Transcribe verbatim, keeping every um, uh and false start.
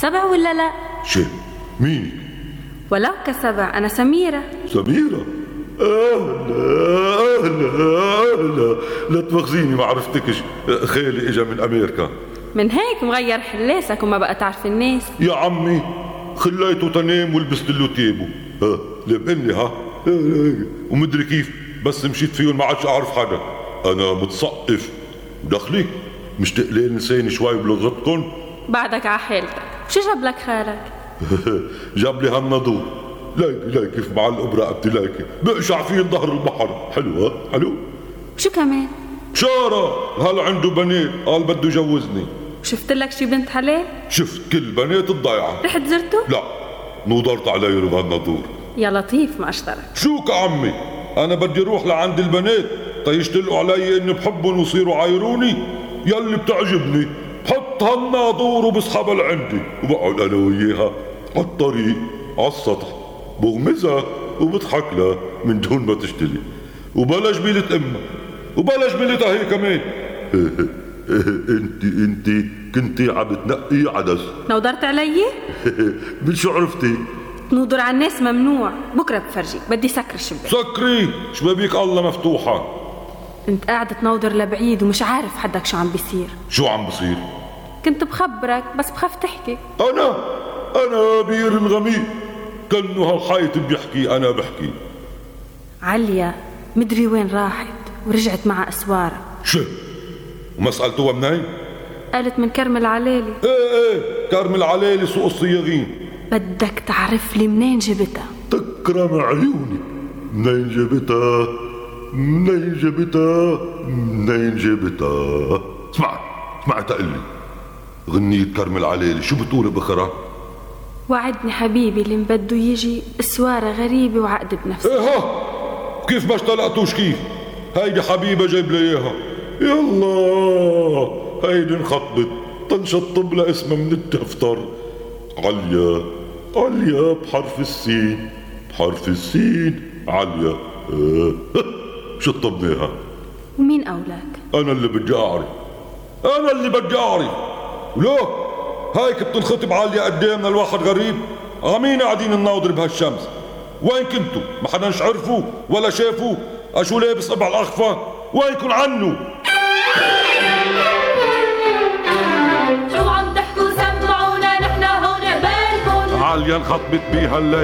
سبع ولا لا؟ شي مين؟ ولو كسبع، أنا سميرة. سميرة؟ أهلا أهلا أهلا، لا تواخذيني ما عرفتكش، خالي إجا من أمريكا. من هيك مغير حلاسك وما بقى تعرف الناس. يا عمي خليته تنام ولبست له تيابه، ها لابقني ها ومدري كيف بس مشيت فيهم ما عادش أعرف حدا. أنا متسقف دخلي مشتاق لساني شوي بلغتكم. بعدك ع حالتك، شو جاب لك خالك؟ جاب لي هالنضور، لايكي لايكي كيف معلق برقبتي، لايكي بقشع فيه ظهر البحر. حلو ها حلو. شو كمان؟ بشارة هل عنده بنات قال بده يجوزني. شفت لك شي بنت حلال؟ شفت كل بنات الضيعة. رحت زرته؟ لا نوضرت علي بهالنضور. يا لطيف ما اشترك. شو كعمي انا بدي اروح لعند البنات تيشتلقوا علي اني بحبهم ويصيروا عايروني؟ يلي بتعجبني بحط هالناظور وبسحبها لعندي وبقعد انا وياها على الطريق على السطح بغمزها وبضحك لها من دون ما تشتلي وبلا جميلة امها وبلا جميلتها هي كمان. انت انت كنتي عم تنقي عدس. نودرت علي؟ من شو عرفتي؟ تنوضر على الناس ممنوع، بكره بفرجيك. بدي سكر الشباك. سكري شبابيك الله مفتوحة. انت قاعد تنوضر لبعيد ومش عارف حدك شو عم بيصير. شو عم بصير؟ كنت بخبرك بس بخاف تحكي. انا انا بير الغميق كأنه هالحيط بيحكي انا بحكي. عليا مدري وين راحت ورجعت مع اسوارها. شو وما سألتوها منين؟ قالت من كرم العلالي. ايه ايه كرم العلالي سوق الصياغين. بدك تعرف لي منين جبتها؟ تكرم عيوني. منين جبتها منين جبتها منين جبتها. اسمع اسمع تقلي غنية كرم العلالي شو بتقول بخرا؟ وعدني حبيبي اللي بده يجي اسوارة غريبة وعقد بنفسه. ايه ها كيف ما اشتلقتوش كيف؟ هيدي حبيبة جايب لي اياها. يلا هيدي انخطبت تنشطب لها اسمها من الدفتر. عليا عليا بحرف السين بحرف السين عليا. اه. شطبناها. ومين أولاك؟ أنا اللي بدي أعرف أنا اللي بدي أعرف. ولو هيك بتنخطب عليا قدامنا الواحد غريب عمين قاعدين نناظر بهالشمس. وين كنتوا؟ ما حدا عرفوا ولا شافوا أشو لابس قبع الأخفى؟ وينكن عنه؟ شو عم تحكوا سمعونا نحن هون قبالكن. عليا انخطبت بيها الليل